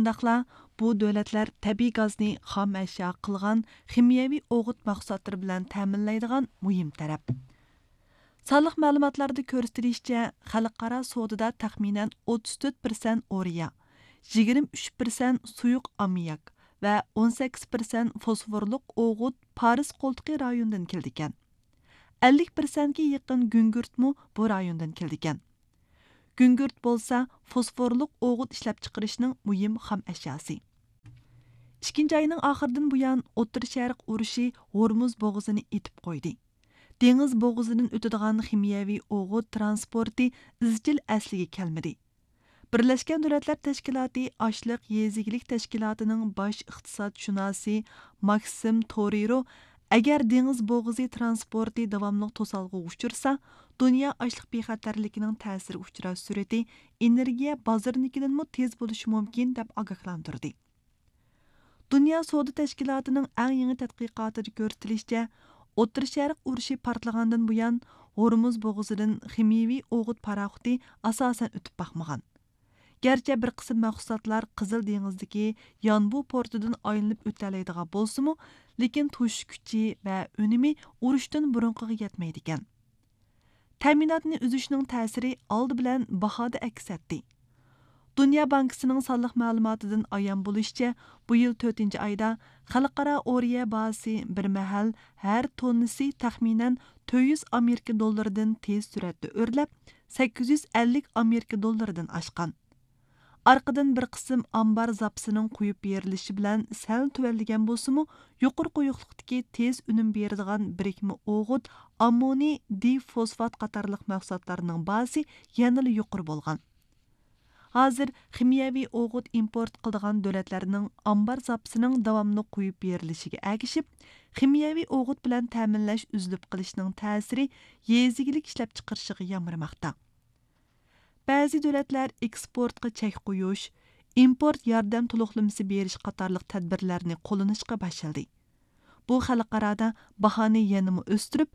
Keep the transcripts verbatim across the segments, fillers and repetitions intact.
شۇنداقلا بۇ دۆلەتلەر تەبىئىي گازنى خام ئەشيا قىلغان خىمىيەۋى ئوغۇت مەھسۇلاتلىرى بىلەن تەمىنلەيدىغان مۇھىم تەرەپ. سانلىق مەلۇماتلاردا كۆرسىتىلىشىچە، خەلقئارا سودىدا تەخمىنەن ئوتتۇز تۆت پىرسەنت ئورىيا، يىگىرمە ئۈچ پىرسەنت سۇيۇق ئاممىياك ۋە ئون سەككىز پىرسەنت فوسفورلۇق ئوغۇت پارس قولتۇقى رايونىدىن كېلىدىكەن. ئەللىك پىرسەنتكە يېقىن گۈڭگۈرتمۇ بۇ رايوندىن كېلىدىكەن. گۈڭگۈرت بولسا فوسفورلۇق ئوغۇت ئىشلەپچىقىرىشنىڭ مۇھىم خام ئەشياسى. ئىككىنچى ئاينىڭ ئاخىرىدىن بۇيان، ئوتتۇرا شەرق ئۇرۇشى ھورمۇز بوغۇزىنى ئېتىپ قويدى. دېڭىز بوغۇزىدىن ئۆتىدىغان خىمىيەۋى ئوغۇت تىرانسپورتى ئىزچىل ئەسلىگە كەلمىدى. بىرلەشكەن دۆلەتلەر تەشكىلاتى ئاشلىق يېزا ئىگىلىك تەشكىلاتىنىڭ باش ئىقتىسادشۇناسى ماكسىم تورېرو، ئەگەر دېڭىز بوغۇزى تىرانسپورتى داۋاملىق توسالغۇغا ئۇچرىسا، دۇنيا ئاشلىق بىخەتەرلىكىنىڭ تەسىرگە ئۇچراش سۈرئىتى ئېنېرگىيە بازىرىنىڭكىدىنمۇ تېز بولۇشى مۇمكىن، دەپ ئاگاھلاندۇردى. دۇنيا سودا تەشكىلاتىنىڭ ئەڭ يېڭى تەتقىقاتىدا كۆرسىتىلىشىچە، ئوتتۇرا شەرق ئۇرۇشى پارتلىغاندىن بۇيان، ھورمۇز بوغۇزىدىن خىمىيەۋى ئوغۇت پاراخوتى ئاساسەن ئۆتۈپ باقمىغان. گەرچە بىر قىسىم مەھسۇلاتلار قىزىل دېڭىزدىكى يانبۇ پورتىدىن ئايلىنىپ ئۆتەلەيدىغان بولسىمۇ، لېكىن توشۇش كۈچى ۋە ئۈنۈمى ئۇرۇشتىن بۇرۇنقىغا يەتمەيدىكەن. تەمىناتنى ئۈزۈشنىڭ تەسىرى ئالدى بىلەن باھادا ئەكس ئەتتى. دۇنيا بانكىسىنىڭ سانلىق مەلۇماتىدىن ئايان بولۇشىچە، بۇ يىل تۆتىنچى ئايدا خەلقئارا ئورىيە باھاسى بىر مەھەل ھەر توننىسى تەخمىنەن تۆت يۈز ئامېرىكا دوللىرىدىن تېز سۈرئەتتە ئۆرلەپ، سەككىز يۈز ئەللىك ئامېرىكا دوللىرىدىن ئاشقان. ئارقىدىن بىر قىسىم ئامبار زاپىسىنىڭ قويۇپ بېرىلىشى بىلەن سەل تۆۋەنلىگەن بولسىمۇ، يۇقىرى قويۇقلۇقتىكى تېز ئۈنۈم بېرىدىغان بىرىكمە ئوغۇت، ئاممونىي دىفوسفات قاتارلىق مەھسۇلاتلارنىڭ باھاسى يەنىلا يۇقىرى بولغان. ھازىر خىمىيەۋى ئوغۇت ئىمپورت قىلىدىغان دۆلەتلەرنىڭ ئامبار زاپىسىنىڭ داۋاملىق قويۇپ بېرىلىشىگە ئەگىشىپ، خىمىيەۋى ئوغۇت بىلەن تەمىنلەش ئۈزۈلۈپ قېلىشىنىڭ تەسىرى يېزا ئىگىلىك ئىشلەپچىقىرىشىغا يامرىماقتا. بەزى دۆلەتلەر ئېكسپورتقا چەك قويۇش، ئىمپورت ياردەم تولۇقلىمىسى بېرىش قاتارلىق تەدبىرلەرنى قوللىنىشقا باشلىدى. بۇ خەلقئارادا باھانى يەنىمۇ ئۆستۈرۈپ،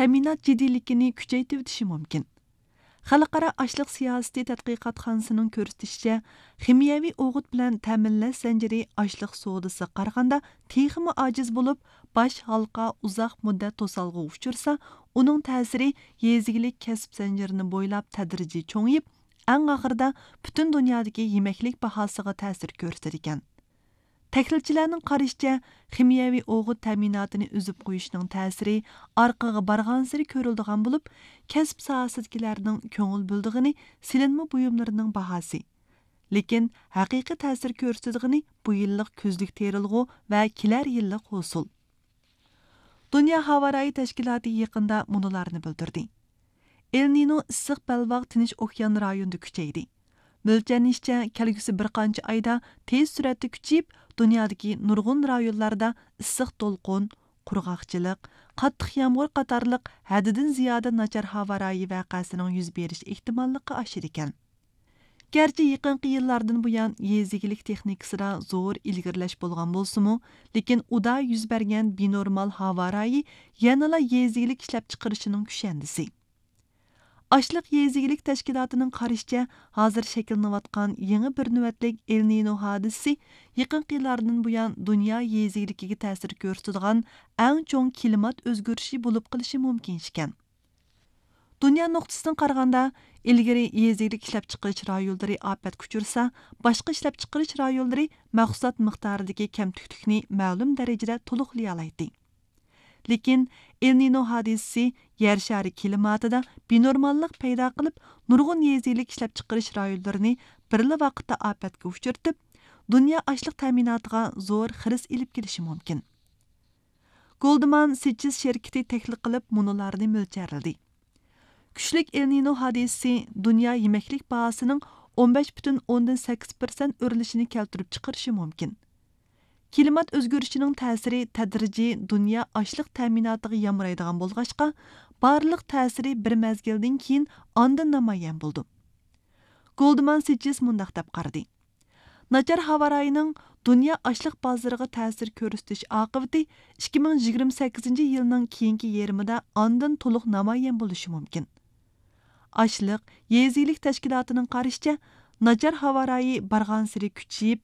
تەمىنات جىددىيلىكىنى كۈچەيتىۋېتىشى مۇمكىن. خەلقئارا ئاشلىق سىياسىتى تەتقىقاتخانىسىنىڭ كۆرسىتىشىچە، خىمىيەۋى ئوغۇت بىلەن تەمىنلەش زەنجىرى ئاشلىق سودىسىغا قارىغاندا تېخىمۇ ئاجىز بولۇپ، باش ھالقا ئۇزاق مۇددەت توسالغۇغا ئۇچرىسا، ئۇنىڭ تەسىرى يېزا ئىگىلىك كەسىپ زەنجىرىنى بويلاپ تەدرىجىي چوڭىيىپ، ئەڭ ئاخىرىدا پۈتۈن دۇنيادىكى يېمەكلىك باھاسىغا تەسىر كۆرسىتىدىكەن. تەھلىلچىلەرنىڭ قارىشىچە، خىمىيەۋى ئوغۇت تەمىناتىنى ئۈزۈپ قويۇشنىڭ تەسىرى ئارقىغا بارغانسېرى كۆرۈلىدىغان بولۇپ، كەسىپ ساھەسىدىكىلەرنىڭ كۆڭۈل بۆلىدىغىنى سېلىنما بۇيۇملىرىنىڭ باھاسى. لېكىن ھەقىقىي تەسىر كۆرسىتىدىغىنى بۇ يىللىق كۈزلۈك تېرىلغۇ ۋە كېلەر يىللىق ھوسۇل. دۇنيا ھاۋا رايى تەشكىلاتى يېقىندا مۇنۇلارنى بىلدۈردى. ئېل نىنو ئىسسىق بەلباغ تىنچ ئوكيان رايونىدا كۈچەيدى. مۆلچەرلىنىشىچە، كەلگۈسى بىر قانچە ئايدا تېز سۈرئەتتە كۈچىيىپ، دۇنيادىكى نۇرغۇن رايونلاردا ئىسسىق دولقۇن، قۇرغاقچىلىق، قاتتىق يامغۇر قاتارلىق ھەددىدىن زىيادە ناچار ھاۋا رايى ۋەقەسىنىڭ يۈز بېرىش ئېھتىماللىقى ئاشىدىكەن. گەرچە يېقىنقى يىللاردىن بۇيان يېزا ئىگىلىك تېخنىكىسىدا زور ئىلگىرىلەش بولغان بولسىمۇ، لېكىن ئۇدا يۈز بەرگەن بىنورمال ھاۋا رايى يەنىلا يېزا ئىگىلىك ئىشلەپچىقىرىشىنىڭ كۈشەندىسى. ئاشلىق يېزا ئىگىلىك تەشكىلاتىنىڭ قارىشىچە، ھازىر شەكىللىنىۋاتقان يېڭى بىر نۆۋەتلىك ئېل نىنو ھادىسىسى يېقىنقى يىللاردىن بۇيان دۇنيا يېزا ئىگىلىكىگە تەسىر كۆرسىتىدىغان ئەڭ چوڭ كىلىمات ئۆزگىرىشى بولۇپ قېلىشى مۇمكىن ئىكەن. دۇنيا نۇقتىسىدىن قارىغاندا، ئىلگىرى يېزا ئىگىلىك ئىشلەپچىقىرىش رايونلىرى ئاپەتكە ئۇچرىسا، باشقا ئىشلەپچىقىرىش رايونلىرى مەھسۇلات مىقدارىدىكى كەمتۈكلۈكنى مەلۇم دەرىجىدە تولۇقلىيالايتتى. لېكىن ئېل نىنو ھادىسىسى يەر شارى كىلىماتىدا بىنورماللىق پەيدا قىلىپ، نۇرغۇن يېزا ئىگىلىك ئىشلەپچىقىرىش رايونلىرىنى بىرلا ۋاقىتتا ئاپەتكە ئۇچرىتىپ، دۇنيا ئاشلىق تەمىناتىغا زور خىرىس ئېلىپ كېلىشى مۇمكىن. گولدمان سېچېس شىركىتى تەھلىل قىلىپ، مۇنۇلارنى مۆلچەرلىدى. كۈچلۈك ئېل نىنو ھادىسىسى دۇنيا يېمەكلىك باھاسىنىڭ ئون بەش پۈتۈن ئوندىن سەككىز پىرسەنت ئۆرلىشىنى كەلتۈرۈپ چىقىرىشى مۇمكىن. كىلىمات ئۆزگىرىشىنىڭ تەسىرى تەدرىجىي دۇنيا ئاشلىق تەمىناتىغا يامرايدىغان بولغاچقا، بارلىق تەسىرى بىر مەزگىلدىن كېيىن ئاندىن نامايان بولىدۇ. گولدمان سېچېس مۇنداق دەپ قارىدى: ناچار ھاۋا رايىنىڭ دۇنيا ئاشلىق بازىرىغا تەسىر كۆرسىتىش ئاقىۋىتى ئىككى مىڭ يىگىرمە سەككىزىنچى يىلنىڭ كېيىنكى يېرىمىدا ئاندىن تولۇق نامايان بولۇشى مۇمكىن. ئاشلىق يېزا ئىگىلىك تەشكىلاتىنىڭ قارىشىچە، ناچار ھاۋا رايى بارغانسېرى كۈچىيىپ،